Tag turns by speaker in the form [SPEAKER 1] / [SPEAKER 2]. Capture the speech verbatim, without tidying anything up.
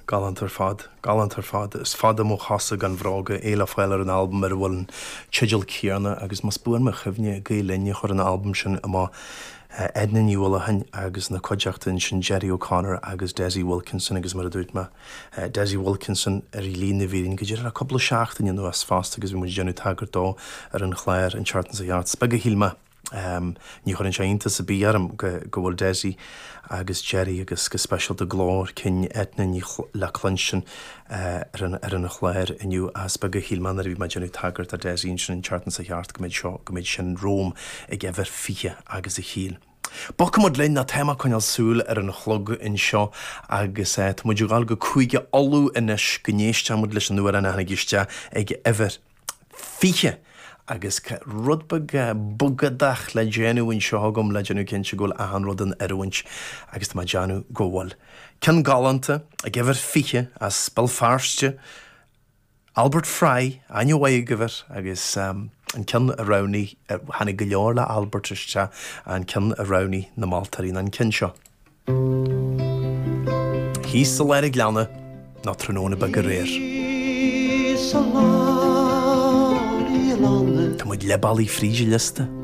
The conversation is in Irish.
[SPEAKER 1] Galánta ar fad, galánta ar fad. Is fada mo chosa gan bhróga, é le fáil ar an albam ar a bhfuil an teideal céanna agus más buan mo chuimhne, Gael Linn a chuir an albam sin amach, Edna Ní Uallacháin agus ina cuideachta ansin Gerry O'Connor agus Dessie Wilkinson agus mar a dúirt mé, Dessie Wilkinson ar shlí na bhfírinne go díreach le cúpla seachtain anuas fosta agus bhí muid ag déanamh tagairt dó ar an chlár an tseachtain seo thart. Is beag a shíl mé. Ní chuireann sé iontas ar bith orm go bhfuil Dessie agus Gerry agus go speisialta glór cinn Edna Ní le cluinstin ar an chlár inniu. Is beag a shíl mé nuair a bhí mé ag déanamh tagairt do Dessie ansin an tseachtain seo thart go mbeidh seo, go mbeidh sin romham ag uimhir fiche agus a shíl. Bogfaidh muid linn, nó tá mé ag coinneáil súil ar an chlog anseo agus tá muid ag dul go Cúige Uladh anois go n-éistfidh muid leis an amhrán a tháinig isteach ag uimhir fiche agus rud beag bogadach le déanamh anseo agam le déanamh cinnte go bhfuil achan rud in oiriúint agus tá mé ag déanamh go bhfuil. Ceann galánta ag uimhir fiche as Béal Feirste, Albert Fry, aithne mhaith agaibh air agus an ceann a roghnaigh, tháinig go leor le Albert isteach, an ceann a roghnaigh na moltóirí ná an ceann seo. Thíos i lár an ghleanna nó tráthnóna beag aréir. Tá muid leath bealaigh fríd an liosta.